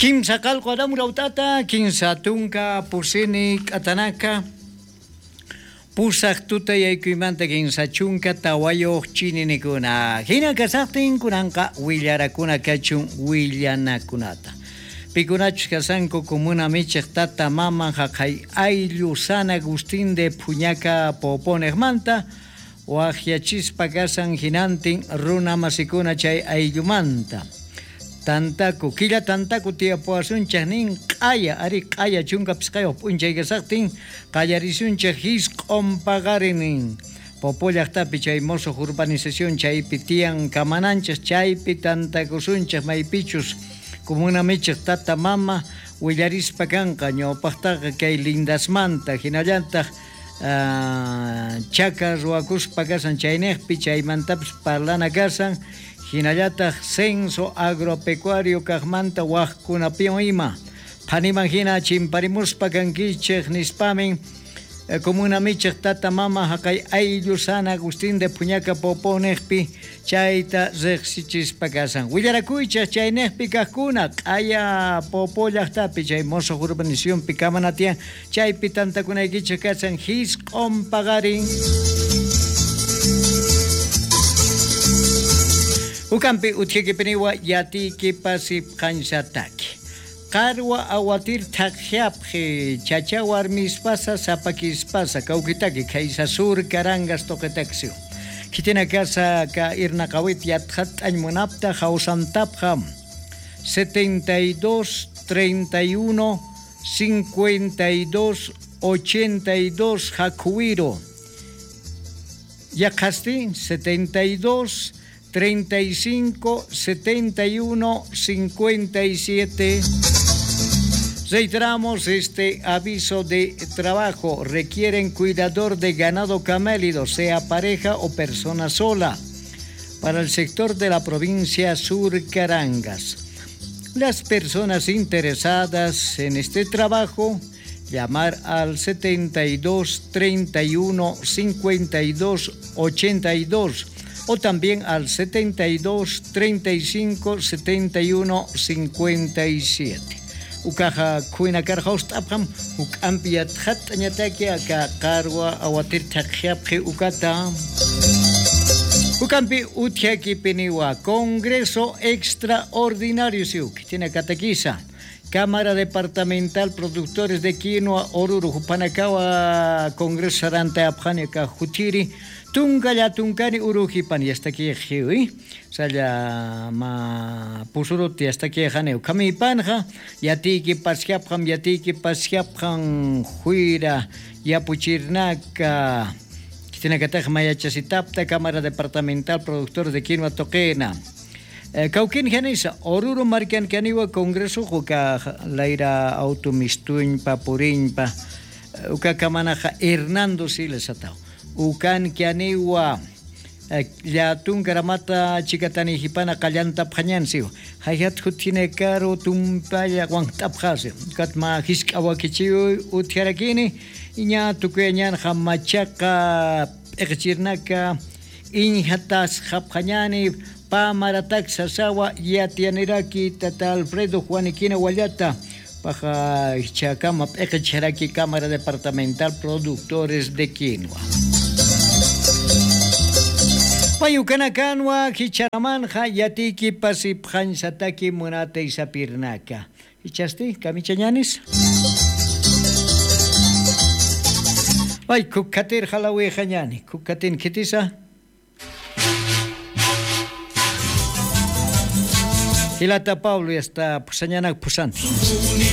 Kimsa qalqu aramurautata, kinsa tunka pusini k'atanaka, pusaq tuta yaykuymanta 34 chininikuna. Hina kasaqtin kunanqa willarakuna kachun willanakunata. Pikunachus kasanku comuna michiq tata mama jaqay ayllu San Agustín de Puñaca Poponejmanta, waqyachispa kasan hinantin runa masikuna chay ayllumanta. Tantaku, killa tantaku tiyapuwasunchik nin q'aya, ari q'aya 15 p'unchay kasaqtin qallarisunchik hisq'un paqarinin. Popo llaqtapi chay mosuq urbanización chaypi tiyan kamananchik chaypi tantakusunchik maypichus comuna michiq tata mama willarispa kanqa ñawpaqtaqa kay lindasmanta hinallataq chaka ruwakuspa kasan chayniqpi chaymantapis parlana kasan hinallataq censo agropecuario kaqmanta waqkunapiwan ima phaniman hina chimparimuspa kankichik nispamin comuna michiq tata mama jaqay ayllu San Agustín de Puñaca Poponejpi chayta riqsichispa kasan willarakuychik chayniqpi kaqkuna q'aya Popo llaqtapi chay mosuq urbanizacionpi kamana tiyan chaypi tantakunaykichik kasan hisq'un paqarin. Ukampi utjikipiniwa yatiki pasipqansataki. Qarwa awatir thaqhyapqi chacha warmispasa sapakispasa kawkitaki kaysa sur karangas toqetaksio. Kitina kasa ka irnaqawit yatqat'añ munapta hawsantapqa 72 31 52 82 jakuwiro. Yaqasti 72 35 71 57. Reiteramos este aviso de trabajo. Requieren cuidador de ganado camélido, sea pareja o persona sola, para el sector de la provincia Sur Carangas. Las personas interesadas en este trabajo, llamar al 72 31 52 82 o también al 72 35 71 57. Ukaja kuina karjaustapjam ukampi yatjat'añataki aka qarwa awatir thaqhyapqi ukata. Ukampi uthiakipiniwa Congreso Extraordinario siuk tiene katakiza Cámara Departamental Productores de Quinoa Oruro Jupanakawa Congreso Saranta Apjani ka Jutiri Tunkalla tunkani urujipan yastaki jiwi salla ma pusuruti yastaki janeu kamipanja yatiki pashiapjan yatiki pashiapjan juira yapuchirnaka kitinakataj mayachasitapta Cámara Departamental Productores de Quinoa Toquena. Cauquín Janisa, Oruro Marcan Caniwa Congreso Juca Laira Automistuñpa Puriñpa Uka Kamanaja Hernando Siles atao. Ukan Kianiwa Yatun Karamata Chikatani Hipana Kallanta Pjañansio Hayat Jutine Caro Tumpaya Guantapjasio Katma Hiskawakichiu Utiarakini Iña Tukueñan Jamachaka Echirnaka Injatas Japjañani Pamaratak Sasawa Yatianiraki Tata Alfredo Juaniquina Guayata Paja Chacama Echaraki Cámara Departamental Productores de Quinoa. Payukanakanwa hicharamanja yatiki pasipjansataki munate isapirnaka. Hichasti, kamichañanis? Ay, kukatir jalawi jañani, kukatin kitisa. Hilata Pablo ya está pusañanak pusanti.